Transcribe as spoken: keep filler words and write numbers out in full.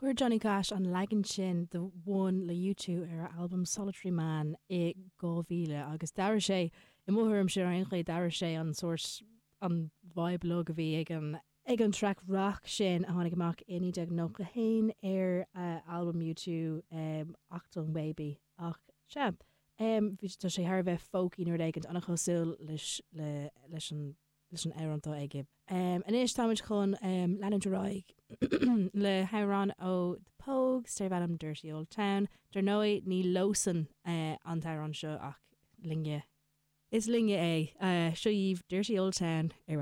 Chuir Johnny Cash an leagan sin de One le U two ar a album Solitary Man i dhá mhíle agus d'athraigh sé, i mo thuairimse ar aon chaoi, d'athraigh sé an sórt an vibe lag a bhí ag an ag an track rock sin a tháinig amach i naoi déag nócha haon ar uh, album U two, um, Achtung Baby. Ach sea, um, bhí tá sé thar bheith folky nuair éigin an-chosúil leis le, leis an leis an amhrán aige. Um, Anois táimid chun um, leanúint ar aghaidh le hamhrán ó The Pogues darb ainm Dirty Old Town. Dar ndóigh, ní leosan uh, an t-amhrán seo ach linne. Is linne é, uh, seo dhaoibh Dirty Old Town ar Radio